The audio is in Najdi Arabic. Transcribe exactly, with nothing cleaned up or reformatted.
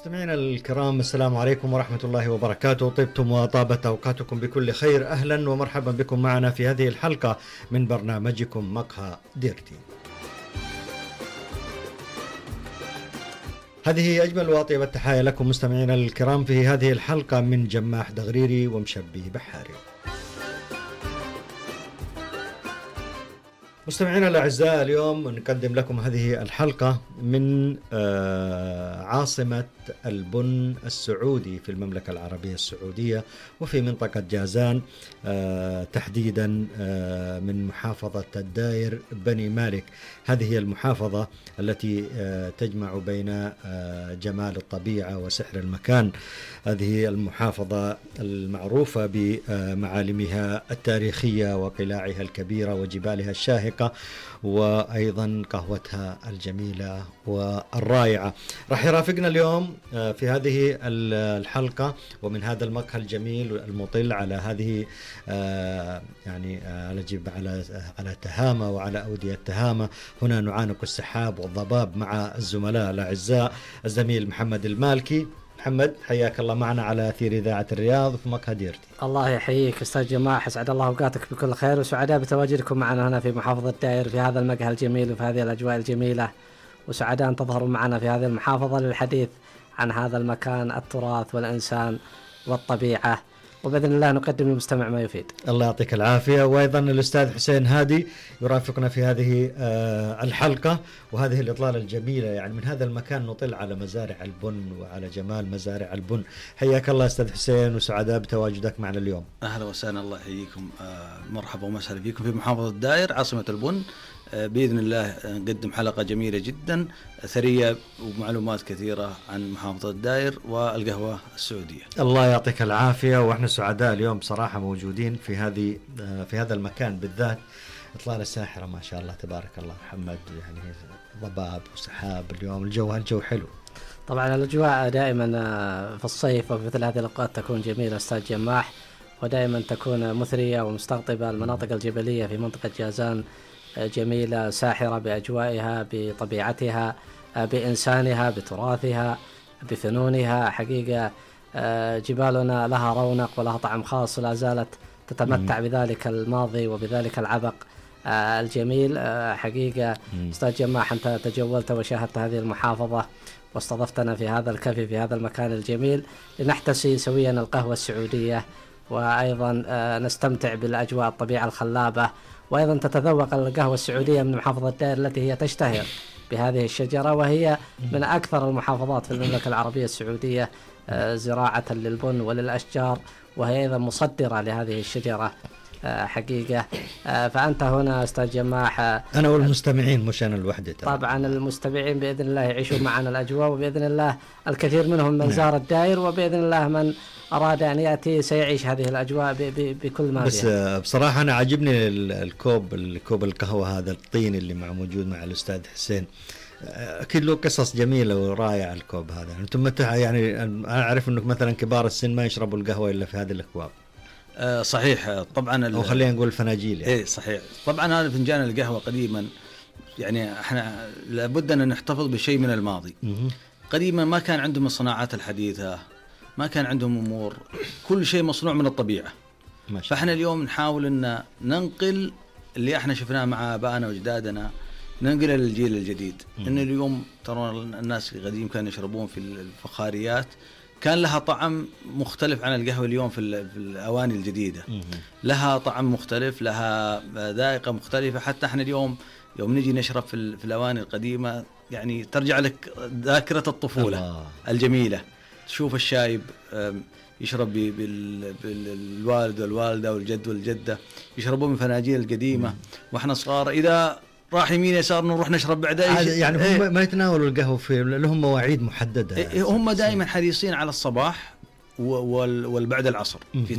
مستمعينا الكرام، السلام عليكم ورحمة الله وبركاته. طبتم وطابت أوقاتكم بكل خير. أهلا ومرحبا بكم معنا في هذه الحلقة من برنامجكم مقهى ديرتي. هذه أجمل وأطيب التحايا لكم مستمعينا الكرام في هذه الحلقة من جماح دغريري ومشبي بحاري. مستمعينا الأعزاء، اليوم نقدم لكم هذه الحلقة من عاصمة البن السعودي في المملكة العربية السعودية وفي منطقة جازان، تحديدا من محافظة الداير بني مالك. هذه هي المحافظة التي تجمع بين جمال الطبيعة وسحر المكان. هذه المحافظة المعروفة بمعالمها التاريخية وقلاعها الكبيرة وجبالها الشاهقة وأيضا قهوتها الجميلة والرائعة. راح يرافقنا اليوم في هذه الحلقة ومن هذا المقهى الجميل المطل على هذه يعني على جب على على تهامة وعلى أودية تهامة. هنا نعانق السحاب والضباب مع الزملاء الأعزاء الزميل محمد المالكي. محمد، حياك الله معنا على أثير إذاعة الرياض في مقهى ديرتي. الله يحييك أستاذ جماح، أسعد الله أوقاتك بكل خير، وسعداء بتواجدكم معنا هنا في محافظة الداير في هذا المقهى الجميل وفي هذه الأجواء الجميلة، وسعداء أن تظهروا معنا في هذه المحافظة للحديث عن هذا المكان، التراث والإنسان والطبيعة، وبإذن الله نقدم للمستمع ما يفيد. الله يعطيك العافية. وأيضا الأستاذ حسين هادي يرافقنا في هذه الحلقة وهذه الإطلالة الجميلة. يعني من هذا المكان نطل على مزارع البن وعلى جمال مزارع البن. حياك الله أستاذ حسين وسعداء بتواجدك معنا اليوم. أهلا وسهلا، الله يحييكم. مرحبا ومسهلا فيكم في محافظة الداير عاصمة البن. بإذن الله نقدم حلقة جميلة جدا ثرية ومعلومات كثيرة عن محافظة الداير والقهوة السعودية. الله يعطيك العافية. وإحنا سعداء اليوم بصراحة موجودين في هذه في هذا المكان بالذات. إطلالة ساحرة ما شاء الله تبارك الله محمد، يعني ضباب وسحاب. اليوم الجو الجو حلو. طبعا الأجواء دائما في الصيف وفي مثل هذه الأوقات تكون جميلة أستاذ جماح، ودائما تكون مثرية ومستقطبة. المناطق الجبلية في منطقة جازان جميلة ساحرة بأجوائها بطبيعتها بإنسانها بتراثها بفنونها. حقيقة جبالنا لها رونق ولها طعم خاص ولا زالت تتمتع بذلك الماضي وبذلك العبق الجميل. حقيقة أستاذ جماح، أنت تجولت وشاهدت هذه المحافظة واستضفتنا في هذا الكافي في هذا المكان الجميل لنحتسي سويا القهوة السعودية، وأيضا نستمتع بالأجواء الطبيعة الخلابة، وأيضا تتذوق القهوة السعودية من محافظة الداير التي هي تشتهر بهذه الشجرة، وهي من أكثر المحافظات في المملكة العربية السعودية زراعة للبن وللأشجار، وهي أيضا مصدرة لهذه الشجرة حقيقة. فأنت هنا أستاذ جماح، أنا والمستمعين مش أنا الوحدة. طبعا المستمعين بإذن الله يعيشوا معنا الأجواء، وبإذن الله الكثير منهم من زار الداير، وبإذن الله من أراد أن يأتي سيعيش هذه الأجواء بكل ما بس فيها. بصراحة أنا عجبني الكوب الكوب القهوة هذا الطين اللي مع موجود مع الأستاذ حسين. أكيد له قصص جميلة ورائعة الكوب هذا. أنتم متى يعني أنا أعرف إنك مثلا كبار السن ما يشربوا القهوة إلا في هذه الأكواب. أه صحيح طبعا، أو خلينا نقول الفناجيل يعني. إيه صحيح طبعا. هذا فنجان القهوة قديما يعني احنا لابد أن نحتفظ بشيء من الماضي. قديما ما كان عندهم الصناعات الحديثة، ما كان عندهم أمور، كل شيء مصنوع من الطبيعة. فاحنا اليوم نحاول أن ننقل اللي احنا شفناه مع آبائنا وأجدادنا، ننقله للجيل الجديد. إن اليوم ترى الناس القديم كانوا يشربون في الفخاريات، كان لها طعم مختلف عن القهوة اليوم في الأواني الجديدة. لها طعم مختلف، لها ذائقة مختلفة. حتى احنا اليوم يوم نجي نشرب في الأواني القديمة يعني ترجع لك ذاكرة الطفولة الله. الجميلة. تشوف الشايب يشرب بالوالد والوالدة والجد والجدة يشربون من فناجيل القديمة، واحنا صغار إذا راح يمين يسار نروح نشرب بعدها. يعني هم إيه؟ ما يتناولوا القهوة في لهم مواعيد محددة. إيه هم دائما حريصين على الصباح والبعد العصر في